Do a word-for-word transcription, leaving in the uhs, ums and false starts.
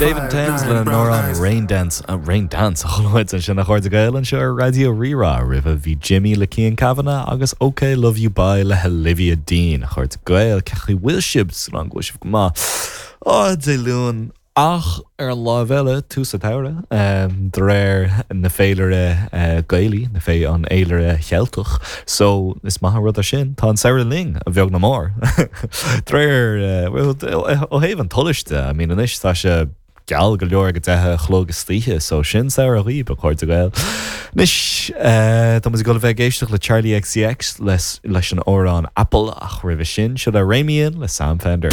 David Thames le amhrán Rain Dance uh, Rain Dance chuid sin a chairde Gael anseo ar Raidió Rí-Rá roimhe bhí Jimmy le Cian Kavanagh agus OK Love You Bye le Olivia Dean a chairde Gael cén chaoi bhfuil sibh san bhfuil sibh go maith á Dé Luain ach ar an lámh eile tús an tsamhraidh um, de réir na féilire uh, Gaelaí na fé an fhéilire Cheilteach so is maith an rud é sin tá an samhradh linn a bheag nó mór De réir uh, ó thaobh an tsolais de I mean anois tá sé geal go leor go deich a chlog istoíche so sin samhradh daoibh a chairde Gael. Anois Tá muid ag dul a bheith ag éisteacht le Charli XCX leis leis an amhrán Apple ach roimhe sin seo le Ramian le Sam Fender.